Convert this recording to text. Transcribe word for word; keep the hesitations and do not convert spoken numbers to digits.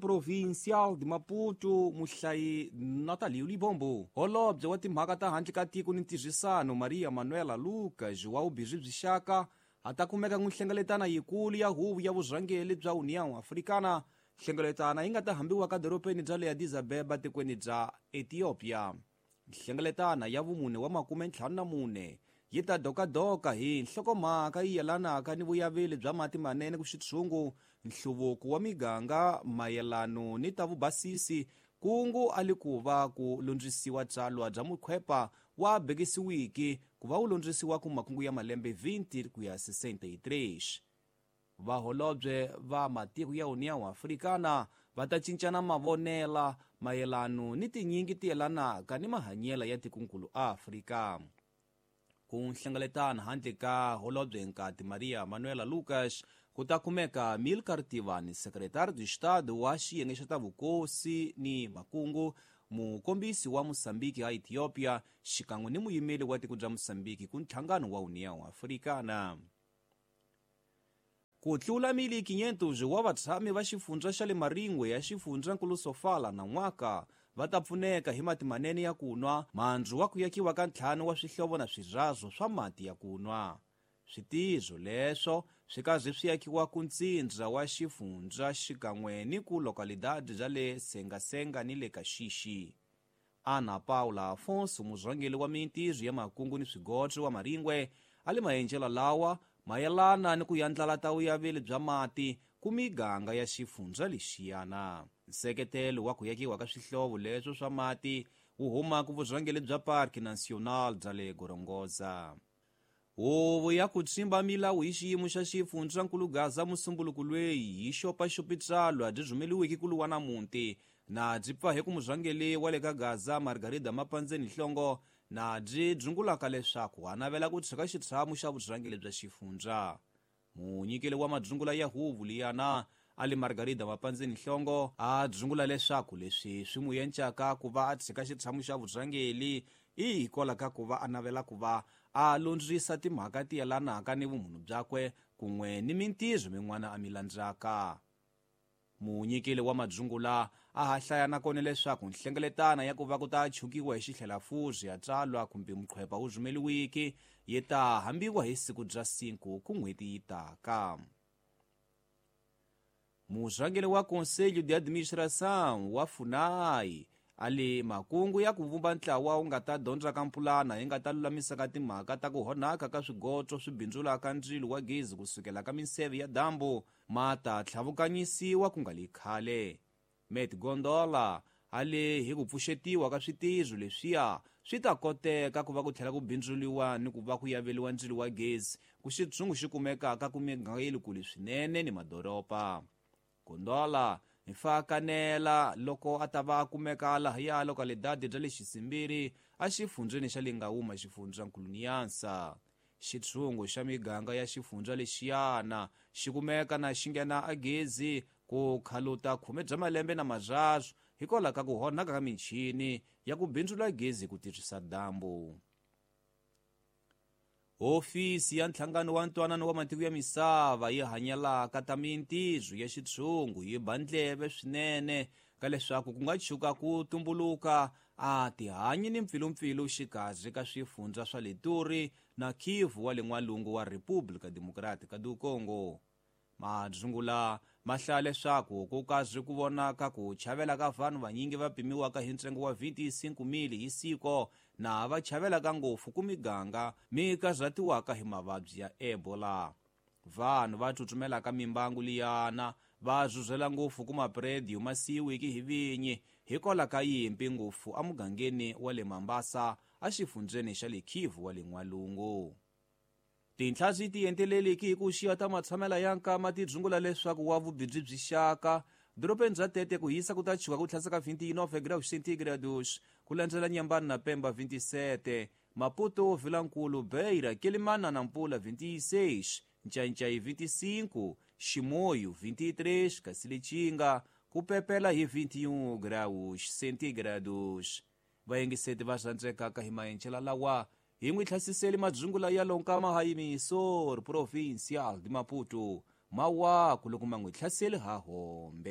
Provincial de Maputo muhlayi Natalio Libombo. Holobye wa timhaka ta handle ka tiko ni ntirhisano Maria Manuela Lucas wa vubirhi byi xaka a ta kumeka ku nhlengeletana yikulu ya huvo ya vurhangeri bya União Africana. Nhlengeletana yi nga ta hambiwa ka dorobeni bya le Addis Abeba tikweni bya Ethiopia. Nhlengeletana ya vumune wa makume ntlhanu na mune yi ta dokadoka hi nhlokomhaka yi yelanaka ni vuyaveli bya mati manene ku xitshungu, nhluvuko wa miganga mayelano ni ta vubasisi, kungu a li ku va ku lundzisiwa tsalwa bya mukhwepa wa bekisiwiki ku va wu lundzisiwa ku makungu ya malembe twenty ku ya sixty-three. Vaholobye va matiko ya União Africana va ta cincana mavonela mayelano ni tinyingi ti yelanaka ni mahanyelo ya tikonkulu Afrika. Ku nhlengeletana handle ka holobye nkati Maria Manuela Lucas ku ta kumeka Milcar Tivani, secretário de Estado wa xiyenge xa ta vukosi ni makungu, mukombisi wa Mosambiki a Ethiopia xikan'we ni muyimeli wa tiko bya Mosambiki ku nhlangano wa União Africana. Ku tlula mili quinhentos wa vatshami va xifundza xa le Maringwe ya xifundzankulu Sofala na n'waka va ta pfuneka hi mati manene ya ku nwa, mandzu wa ku yakiwa ka ntlhanu wa swihlovo na swirhazo swa mati ya ku nwa. Switizo leswo swi karhi swi yakiwa ku ntsindza wa xifundza xikan'we ni ku localidade bya le Sengasenga ni le Kaxixi. Ana Paula Afonso, murhangeri wa mintirho ya makungu ni swigodzo wa Maringwe, a le maenjela lawa mayelana ni ku yandlala ta vuyaveli bya mati ku miganga ya xifundza lexiyana. Nseketelo wa ku yakiwa ka swihlovo leswo swa mati wu huma ku vurhangeri bya Parque Nacional bya le Gorongosa. Huvo ya ku tsimba milawu hi xiyimo xa xifundzankulu Gaza musumbuluku lweyi yi xopaxopi tsalwa byi rhumeliweke ku luwa na muti na byi pfa hi ku murhangeri wa le ka Gaza Margarida Mapandzeni Nhlongo na byi dzungulaka leswaku a navela ku tshika xitshamo xa vurhangeri bya xifundza. Munyikeli wa madzungula ya huvo liyana ali Margarida Mapandzeni Nhlongo a dzungula leswaku leswi swi n'wi encaka ku va a tshika xitshamo xa vurhangeri i hikwalaho ka ku va a navela ku va a lundzisa timhaka ti yelanaka ni vumunhu byakwe kun'we ni mintirho min'wana a mi landzaka. Munyikeli wa madzungula a ha hlaya nakona leswaku nhlengeletana ya ku va ku ta chukiwa hi xihlelafuzi ya tsalwa kumbe muqhwepa wu rhumeliwiki yi ta hambiwa hi siku bya cinco ku n'hweti yi taka. Murhangeri wa Conselho de Administração wa FUNAI ali makungu ya ku vumba ntlawa wu nga ta dyondza ka mpulana yi nga ta lulamisaka timhaka ta ku honaka ka swigotso swi bindzulaka ndzilo wa gezi kusukela ka minseve ya dambu ma ta tlhavukanyisiwa ku nga li khale. Met Gondola ali hi ku pfuxetiwa ka switizo leswiya swi ta koteka ku va ku tlhela ku bindzuliwa ni ku va ku yaveliwa ndzilo wa gezi ku xitshungu xi kumekaka ku miganga ya le kule swinene ni madoroba. Gondola hi fakanela loko a ta va a kumeka lahaya localidade bya le Xisimbiri a xifundzeni xa le Ngawuma xifundzankulu Niansa. Xitshungu xa miganga ya xifundza lexiyana xi kumeka na xi nghena a gezi ku khaluta khume bya malembe na marharu hikwalaho ka ku honaka ka michini ya ku bindzula gezi ku tirhisa dambu. Hofisi ya nhlangano wa ntwanano wa matiko ya misava yi hanyelaka ta mintirho ya xitshungu yi ba ndleve swinene ka leswaku ku nga tshuka ku tumbuluka a tihanyi ni mpfilumpfilu xikarhi ka swifundza swa le Turi na Kivu wa le n'walungu wa República Democrática do Congo. Madzungula ma hlaya leswaku ku karhi ku vonaka ku chavela ka vanhu vanyingi va pimiwaka hi ntsengo wa vinte e cinco mil hi siku na va chavelaka ngopfu ku miganga mi karhatiwaka hi mavabyi ya Ebola. Vanhu va tsutsumelaka mimbangu liyana va zuzela ngopfu ku mapredio ma siyiwiki hi vinyi hikwalaho ka yimpi ngopfu emugangeni wa le Mambasa exifundzeni xa le Kivu wa le n'walungu. Tinhla swi ti enteleleki hi ku xiya ta matshamela ya nkama ti dzungula leswaku wa vubibyi byi xaka dorobeni bya Tete ku hisa ku ta chuka ku tlhasaka vinte e nove graus centígrados, ku landzela Nyambani na Pemba vinte e sete, Maputo, Vilankulu, Beira, Quelimane na Nampula vinte e seis, Ncancai vinte e cinco, Chimoio vinte e três, kasi Lichinga ku pepela hi vinte e um graus centígrados. Vayingiseti va rhandzekaka hi maenjela lawa hi n'wi tlhasiseli madzungula ya lonkama ha yimisor Provincial de Maputo mawaku loko ma n'wi hlaseli ha hombe.